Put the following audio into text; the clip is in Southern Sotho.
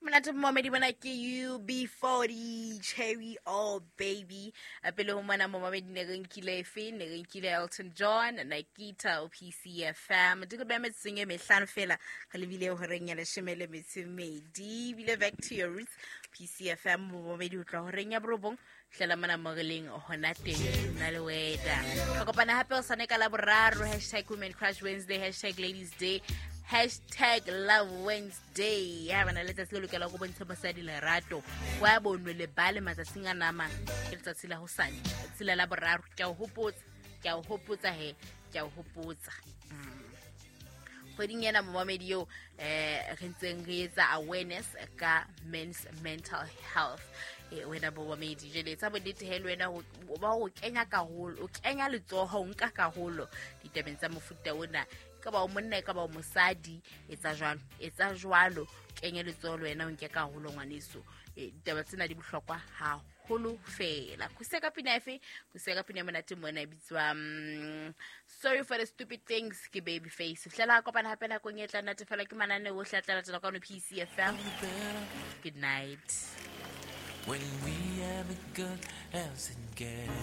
Monate momamedi, mona ke UB40, Cherry All Baby. A pele ho mona momamedi ne re nkile efe? Ne re nkile Elton John, Nikita, PCFM. Di re beha metsotsong e mehlano fela re lebile horeng ya 12. Ebile back to your roots, PCFM momamedi, ho tloha horeng ya 9 hlela mona mo re leng hona teng, nna le wena re kopana hape o sane ka la boraro. #WomenCrushWednesday, #LadiesDay, #LoveWednesday. Ya bana, letsatsi le lokela go bontsha mosadi lerato wa bonwe lebale matsatsing a namang ke letsatsi la hosane, letsatsi la la boraro. Ke a o hopotsa, ke a o hopotsa he, ke a o hopotsa. Kgweding ena momamedi eo re ntseng re etsa awareness ka men's mental health. Wena momamedi, jwale etsa bonnete he le wena ba o kenya karolo, o kenya letsoho, o nka karolo ditabeng tsa mofuta ona. E ka ba o monna, e ka ba o mosadi, etsa jwalo, etsa jwalo, kenye letsoho le wena, o nke karolo ngwaneso. Ditaba tsena di bohlokwa haholo fela. Khuse ka pina efe? Khuse ka pina e monate mona e bitswa Sorry for the Stupid Things, ke Baby Face. Fihlela kopana hape nakong e tla natefela ke manane ohle a tla latela kwano PCFM. Good night. When we have a good as it gets.